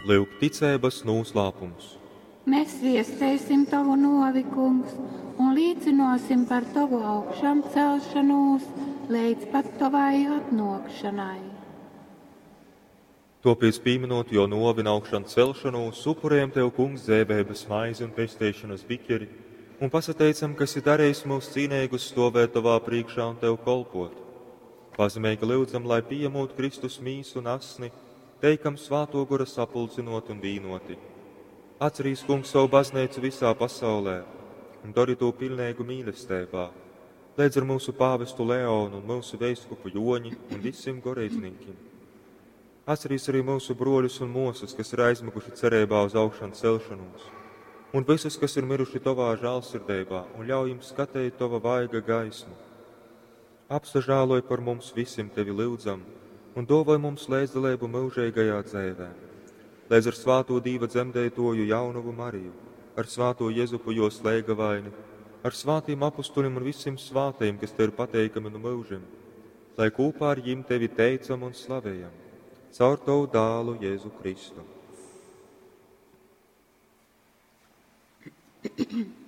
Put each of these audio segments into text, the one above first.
Lyuk ticeibas nūslāpums. Mes viesteisim tovu nōvi, Kungs, un līcynōsim par tovu augšamcelšonūs leidz pat tovai atnōkšanai. Tōpēc, pīminot jō nōvi un augšancelšonūs, upurējam Tev, Kungs, dzeiveibas maizi un pesteišonas biķeri, un pasateicam, ka esi darījis mūs cīneigus stovēt Tovā priekšā un Tev kolpot. Pazemeigi lyudzam, lai pieņemot Kristus mīsu un asni, teikam Svātō Gora sapulcinot un vīnoti. Atcerīs, Kungs, savu baznīcu visā pasaulē un dori to pilnīgu mīlestībā, līdz ar mūsu pāvestu Leonu un mūsu veiskupu Joņi un visiem goreizniekiem. Atcerīs arī mūsu broļus un mūsas, kas ir aizmiguši cerībā uz augšanu celšanos, un visus, kas ir miruši Tavā žēlsirdībā, un ļauj jums skatīt Tava vaiga gaismu. Apsažāloj par mums visiem Tevi lūdzam, un dāvoj mums līdzdalību mūžīgajā dzīvē. Līdz ar svāto Dīva dzemdētoju jaunavu Mariju, ar svāto Jezupu jo slēgavaini, ar svātiem apustuļiem un visiem svātajiem, kas Tev ir pateikami no mūžiem, lai kopā ar jim Tevi teicam un slavējam, caur Tavu dālu Jēzu Kristu.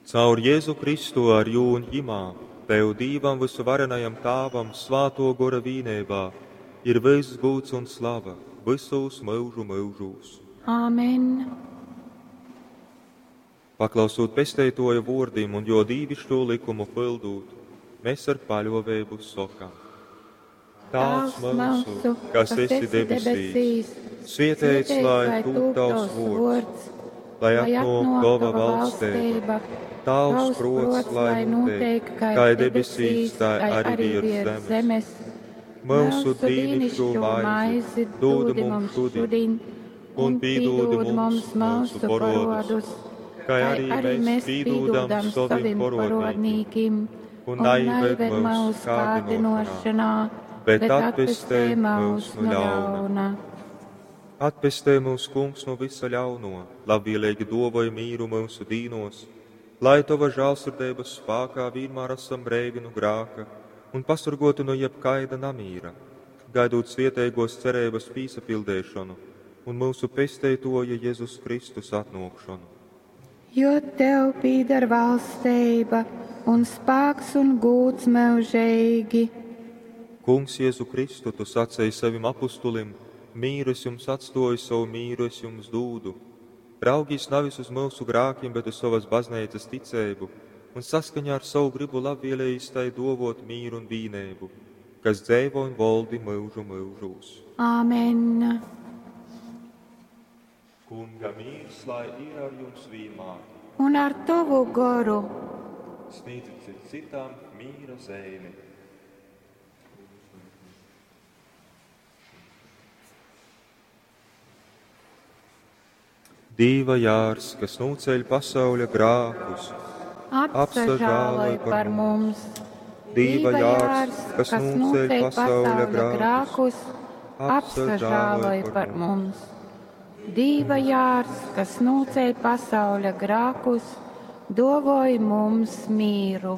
Caur Jēzu Kristu ar jū un jimā, Tev Dīvam visuvarenajam Tāvam, svāto gora vīnībā, ir viss gūts un slava visos mūžu mūžos. Āmen. Paklausot pesteitoja vōrdim un jo dīvišķo likumu pildūt, mēs ar paļovēbu sokam. Tēvs mūsu, kas esi debesīs, svietēts lai tūp tavs vōrds, lai atnāk tava valstība, tavs prots, lai notiek, kā debesīs, tā arī virs zemes. Mūsu dīnišķo maizi dod mums šodien, un pīdod mums mūsu porodus, kā arī mēs pīdodam saviem porodnīkim, un neieved mūsu kārdinošanā, bet atpestē mūs no ļauna. Atpestē mūs, Kungs, no visa ļauno, labvēlīgi dovoj mīru mūsu dīnos, lai Tava žēlsirdības spākā vienmēr esam breivi no grāka un pasargoti no jebkaida namīra, gaidot svietēgos cerības pīsapildēšanu un mūsu pesteitoja Jēzus Kristus atnākšanu. Jo tev pīdar valstība un spāks un gūts mūžīgi. Kungs Jēzu Kristu, tu sacēji savim apustulim, mīru es jums atstoju, savu mīru es jums dūdu. Raugīs nevis uz mūsu grākiem, bet uz savas baznīcas ticēbu, un saskaņā ar savu gribu labvēlējis tai dovot mīru un vīnēbu, kas dzēvo un voldi mūžu mūžūs. Āmen. Kunga mīrs, lai ir ar jums vienmēr. Un ar tavu goru. Sniedzit cits citam mīra zīmi. Dīva jārs, kas nūceļ pasauļa grākus, Apsažāloj par mums. Dīva jārs, kas nūceļ pasauļa grākus, apsažāloj par mums. Dīva jārs, kas nūceļ pasauļa grākus, dovoj mums mīru.